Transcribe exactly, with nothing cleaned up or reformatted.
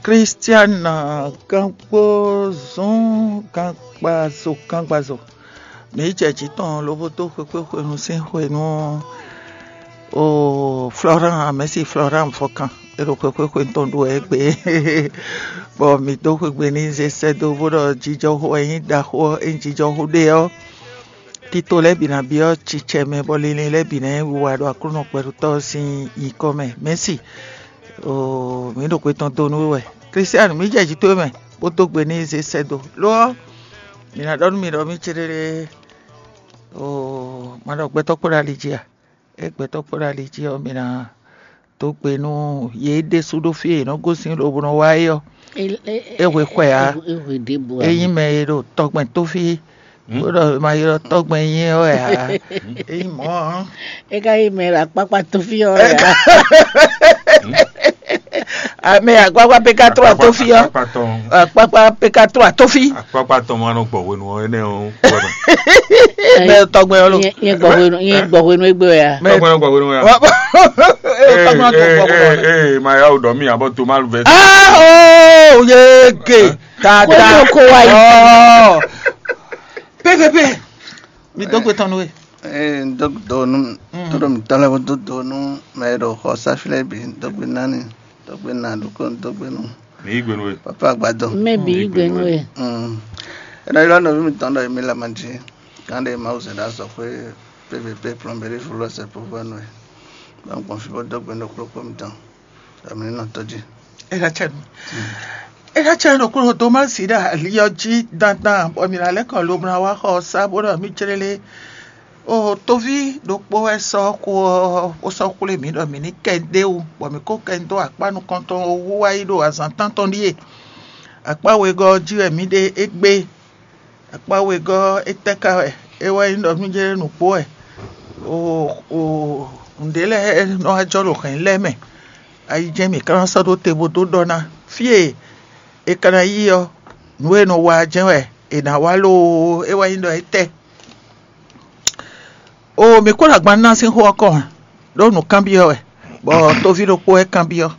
Kristiana, gangbo zɔn gangbazo gangbazo. Mǐ jɛ jǐ tɔn lobo dó xwekpéxwenu sín xwenu. O Florent, mɛ̌si Florent Fɔkan, é ɖo xwekpéxwenu tɔn ɖu wɛ égbé. Bɔ mǐ dó xwegbe n'i zé sɛ́ dó bó ɖɔ jijɔxo wɛ nyí ɖaxó ɔ́, é nyí jijɔxo ɖé ɔ́, tito lɛ́ɛ bǐ ná byɔ́ cicɛ mɛ, bɔ linlin lɛ́ɛ bǐ ná nyí wiwa ɖo Aklúnɔ kpɛɖutɔ́ ɔ́ sín nyǐkɔ mɛ. Mɛ̌si, o mǐ ɖo xwe tɔn dó nú we wɛ. Kristianu, mǐ jɛ jǐ towe mɛ bó dó gbe n'i zé sɛ́ dó. Lo ɔ́, mǐ ná ɖɔ nú mi ɖɔ mì céɖéɖé, o ma ɖɔ gbɛtɔ́ kpo ɖo ali jí a? É gbɛtɔ́ kpo ɖo ali jí ɔ́, mǐ ná dó gbe nú yě ɖésú ɖo fí e yě nɔ gosín lobo nɔ wá é ɔ́. É hwe xwɛ ǎ. É hwe ɖěbǔ ǎ. É nyí mɛ e ɖo tɔgbɛn tó fí, bó ɖɔ ma ylɔ́ tɔgbɛn nyí ɔ́ wɛ ǎ. É nyí mɔ̌ ɔ́. É ka nyí mɛ e ɖo akpákpá tó fí ɔ́ wɛ ǎ. Amɛ akpákpá pé ká tó wà tó fí ɔ́. Akpákpá tɔn. Akpákpá pé ká tó wà tó fí. Akpákpá tɔn ma nɔ gbɔ hwenu ɔ́ énɛ́ ɔ́ wɛ mɛ. Nyɛ gbɔ hwenu, nyɛ gbɔ hwenu égbé wɛ ya. Mɛ tɔgbɛn nɔ gbɔ hwenu ya. Ee, tɔgbɛn nɔ gbɔ hwenu. Ee, ma ya o ɖɔ mi abɔ to ma lu vɛ. Ah, oh, yege. Tata. Ko wa yi. Oh. P P P. Mi dó gbe tɔn nú we. Ee, dó dó nú, tó ɖo mǐtɔn lɛ́ɛ bó dó dó nú mɛ e ɖo xɔ sáfí lɛ́ɛ bǐ, dó gbe nání, dó gbe ná ɖokpó, dó gbe nú. Mi yí gbe nú we. Papa agbadɔ. Mɛ bǐ yí gbe nú we. Mm. Ena ylɔ́ nɔví mitɔn ɖɔ émí lama jí. Gán ɖé Mawu zɛ ɖo azɔ̌xwé P V P plɔnbéɖé fúlɔ́ sɛ povɔ́nú e. Bɔ un gbɔn fí bó dó gbe nú kplɔ́kplɔ́ mitɔn. Bɔ mi ní nɔ tɔ́ jí. É ná cɛ nú. É ná cɛ nú kúrò Tomasi ɖo ali ɔ́ jí dandan, bɔ mǐ ná lɛ́ kɔ lobo ná wá xɔ ɔ́ sá bó ɖɔ mì clélé. O tóví ɖokpó wɛ sɔ́ xó ɔ́, bó sɔ́ xwlé mǐ ɖɔ mǐ ní kɛ ɖ'é wú, bɔ mǐ kó kɛ dó akpá nukɔntɔn wú wá yi ɖo azǎn tántɔn ɖíe. Akpá wegɔ́ ɔ́ jí wɛ mǐ ɖe égbé. Akpá wegɔ́ ɔ́, étɛ́ ka wɛ? É wɛ nyí ɖɔ mì jɛ́n nǔgbó wɛ. O o nǔɖé lɛ́ɛ nɔ wá jɔ ɖo hɛ̌n lɛ́ɛ mɛ. Ayi jɛ́n mǐ ka ná sɔ́ ɖó te bó dó ɖɔ ná. Fí e è ka ná yí ɔ́, nǔ e è nɔ wa ɔ́ jɛ́n wɛ è nǎ wa loo, é wɛ nyí ɖɔ étɛ́? O mǐ kó ɖo agban ná sín xó ɔ́ kɔn, ɖó nǔ kanbyɔ́ wɛ, bɔ tóví ɖokpó wɛ kanbyɔ́.